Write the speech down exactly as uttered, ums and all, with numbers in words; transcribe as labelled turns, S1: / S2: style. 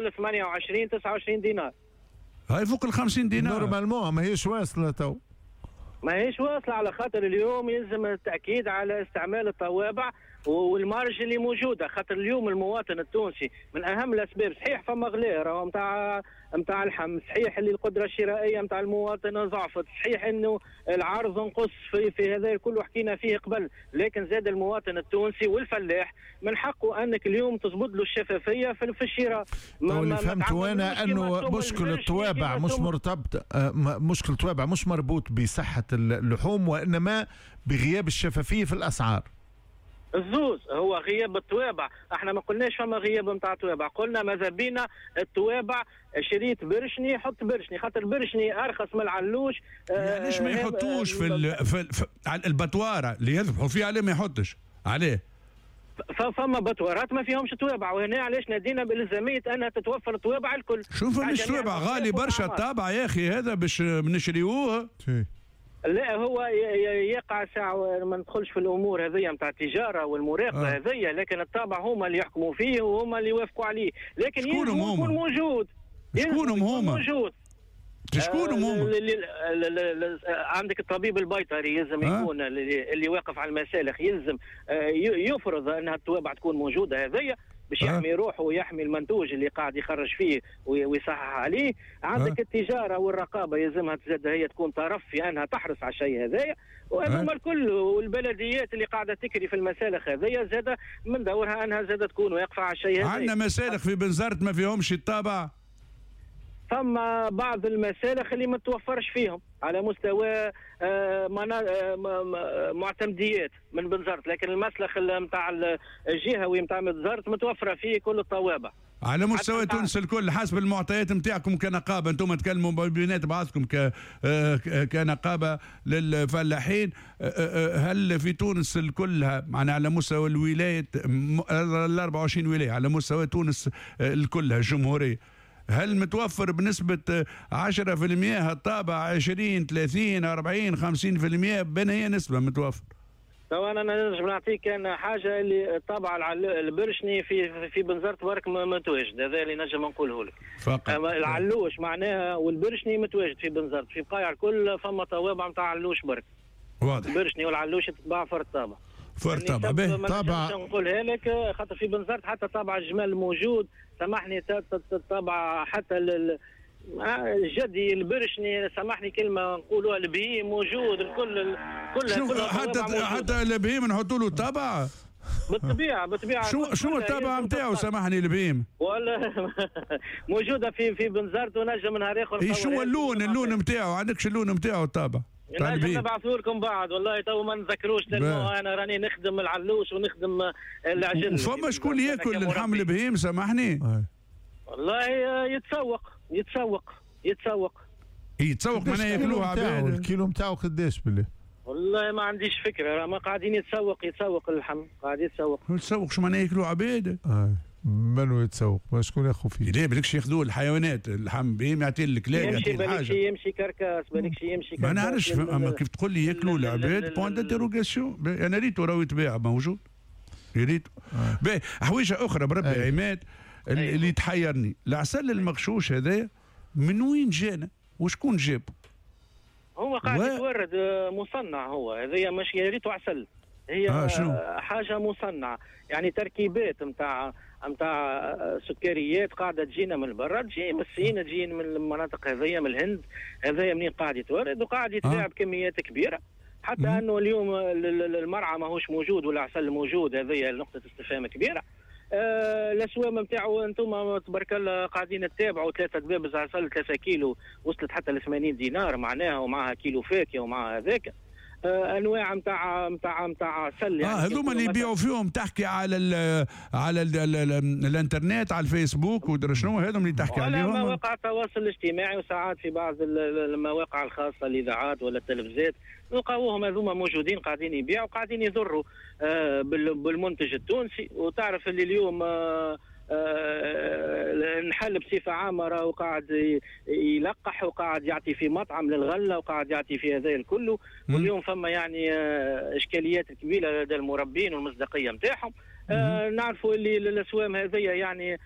S1: وصل ثمانية وعشرين تسعة وعشرين دينار.
S2: هاي فوق ال خمسين دينار
S3: normalement ماهيش واصله تو.
S1: ماهيش واصله على خاطر اليوم يلزم التاكيد على استعمال الطوابع وال marge اللي موجوده، خاطر اليوم المواطن التونسي من اهم الاسباب، صحيح فما غلاء راهو نتاع نتاع اللحم، صحيح اللي القدرة الشرائية نتاع المواطن ضعفت، صحيح انه العرض نقص في, في هذا الكل حكينا فيه قبل، لكن زاد المواطن التونسي والفلاح من حقه انك اليوم تظبط له الشفافية في, في الشراء.
S3: ما اللي فهمته انا انه مشكل الطوابع مش مرتبط، مشكل الطوابع مش مربوط بصحة اللحوم وانما بغياب الشفافية في الاسعار.
S1: الزوز هو غياب الطوابع، احنا ما قلناش فما غياب نتاع طوابع، قلنا ماذا بينا الطوابع شريت برشني حط برشني، خاطر برشني ارخص من العلوش.
S2: آه علاش ما يحطوش في ال في, في البطواره اللي يذبحوا فيها، عليه ما يحطش عليه؟
S1: فما بطوارات ما فيهمش طوابع، وهنا علاش نادينا بالزاميه انها تتوفر الطوابع الكل.
S2: شوف مش طوابع غالي برشا الطابع يا اخي، هذا باش نشريوه.
S1: لا هو يقع ساعة ما ندخلش في الامور هذيا نتاع التجارة والمراقبة آه. هذيا، لكن الطابع هما اللي يحكموا فيه وهما اللي يوافقوا عليه، لكن
S2: شكونهم هما؟
S1: يكون موجود.
S2: شكونهم هما؟
S1: موجود.
S2: شكونهم هما؟
S1: عندك الطبيب البيطري يلزم آه؟ يكون اللي, اللي واقف على المسالخ يلزم يفرض انها الطوابع تكون موجودة هذيا باش يحمي روحه ويحمي المنتوج اللي قاعد يخرج فيه ويصحح عليه. عندك أه؟ التجارة والرقابه يلزمها تزاد هي تكون طرف في انها تحرص على الشيء هذايا، وهذوما الكل والبلديات اللي قاعدة تكري في المسالخ هذيا زاد من دورها انها زاد تكون واقفة على الشيء هذايا.
S2: عندنا مسالخ في بنزرت ما فيهمش الطابع؟
S1: فما بعض المسالخ اللي ما توفرش فيهم على مستوى معتمديات من بنزرت، لكن المسلخ نتاع الجهوي نتاع بنزرت متوفرة فيه كل الطوابع
S2: على مستوى تونس الكل حسب المعطيات نتاعكم كنقابه. انتم تكلموا بينات بعضكم ك كنقابه للفلاحين، هل في تونس الكلها معنا على مستوى الولايات ال أربعة وعشرين ولاية على مستوى تونس الكلها الجمهورية، هل متوفر بنسبة عشرة بالمئة الطابع، عشرين ثلاثين أربعين خمسين بالمئة، بين هي نسبة متوفر؟
S1: تو انا نجم نعطيك انا حاجة اللي الطابع البرشني في في بنزرت برك متواجد، هذا اللي نجم نقوله لك.
S2: فقط
S1: العلوش معناها والبرشني متواجد في بنزرت، في بقايع الكل فما طوابع نتاع علوش برك.
S2: واضح.
S1: البرشني والعلوش تتباع فرد طابع.
S2: فرد طابع باهي.
S3: طابع
S1: نقولها لك خاطر في بنزرت حتى طابع الجمال موجود، سامحني طابع حتى الجدي البرشني، سامحني كلمة نقولوها البهيم موجود، الكل كل
S2: حتى حتى البهيم نحطوا له طابع؟
S1: بالطبيعة بالطبيعة.
S2: شو شو الطابع نتاعو سامحني البهيم؟
S1: ولا موجودة في في بنزرت ونجم نهار اخر.
S2: إيه شو اللون اللون نتاعو؟ عندكش اللون نتاعو الطابع؟
S1: نجم نبعثوا لكم بعد، والله تو ما نذكروش لانه انا راني نخدم العلوش ونخدم العجل.
S2: فما شكون ياكل اللحم البهيم سامحني؟
S1: والله يتسوق يتسوق يتسوق.
S2: يتسوق معناها ياكلوه عباد.
S3: الكيلو نتاعو قداش بالله؟
S1: والله ما عنديش فكرة، ما قاعدين يتسوق يتسوق اللحم، قاعد يتسوق.
S2: يتسوق شو معناها ياكلوه عباد؟
S3: آه. منو يتسوق؟ شكون ياخذ فيه؟
S2: لا بالكش ياخذوه الحيوانات، اللحم بهم يعطيه الكلاب يعطيه الحاجة.
S1: يمشي يمشي carcasse، بالكش يمشي carcasse.
S2: ما نعرفش، اما كيف تقول لي ياكلوا العباد point d'interrogation، انا ريتو راهو يتباع موجود. ريتو. باهي حويجه اخرى بربي يا عماد اللي تحيرني، العسل المغشوش هذا من وين جانا؟ وشكون جابه؟
S1: هو قاعد و... يتورد مصنع، هو هذايا مش يا ريتو عسل، هي آه شنو؟ حاجة مصنعه، يعني تركيبات نتاع نتاع سكريات قاعدة تجينا من برا، تجي من الصين، تجي من المناطق هذيا، من الهند، هذايا منين قاعد يتورد وقاعد يتباع آه. بكميات كبيرة، حتى مم. انه اليوم المرعى ماهوش موجود والعسل موجود، هذيا نقطة استفهام كبيرة. آه الاسوام نتاعو انتم تبارك الله قاعدين تتابعوا، ثلاثة دبابز عسل ثلاثة كيلو وصلت حتى ل ثمانين دينار معناها، ومعها كيلو فاكهة ومعها هذاك. آه انواع نتاع نتاع نتاع عسل
S2: يعني. اه هذوما اللي يبيعوا فيهم تحكي على ال على ال ال الانترنت، على الفيسبوك ودرا شنو هذوما اللي تحكي عليهم؟
S1: على مواقع التواصل الاجتماعي وساعات في بعض المواقع الخاصة الاذاعات ولا التلفزات نلقاوهم هذوما موجودين قاعدين يبيعوا وقاعدين يضروا آه بالمنتج التونسي. وتعرف اللي اليوم آه آه النحل بصفة عامة راهو قاعد يلقح وقاعد يعطي في مطعم للغله وقاعد يعطي في هذا الكل، واليوم فما يعني آه اشكاليات كبيرة لدى المربين والمصداقيه نتاعهم. آه نعرفوا اللي الاسوام هذيا يعني آه